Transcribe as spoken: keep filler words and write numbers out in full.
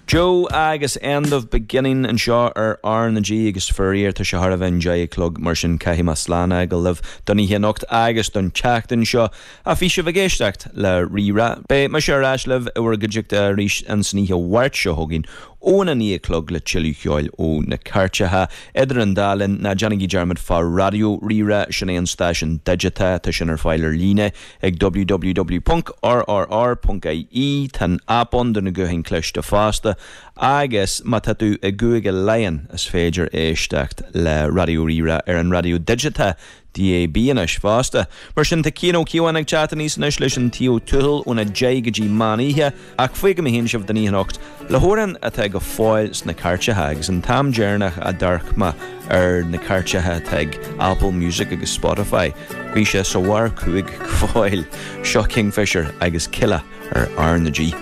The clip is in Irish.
Joe agus End of Beginning anseo ar R na G agus faraor tá sé thar a bheith deich a chlog mar sin caithfidh mé slán a fhágáil libh don oíche anocht agus don tseachtain seo a bhí sibh ag éisteacht le Rí-Rá. Beidh mise ar ais libh i bhur gcuideachta arís an oíche Mháirt seo chugainn óna naoi a chlog le tuilleadh ceoil ó na cairteacha idir an dá linn ná déanaigí dearmad fá Raidió Rí-Rá sin é an stáisiún digiteach tá sin ar fáil ar líne ag www.rrr.ie Tá an aip ann do na gutháin cliste fosta agus má tá tú i gCúige Laighean is féidir éisteacht le Raidió Rí-Rá ar an raidió digiteach DAB anois fosta. Mar sin tá Cian Ó Ciabháin ag teacht aníos anois leis an Taobh Tuathail óna deich go dtí meán oíche ach fágfaidh mé féin sibh don oíche anocht le hamhrán atá go fóill sna cairteacha agus an t-am deireanach a d'amharc mé ar na cairteacha atá ag Apple Music agus Spotify. Bhí sé sa bharr cúig go fóill seo Kingfisher agus Killa ar R na G.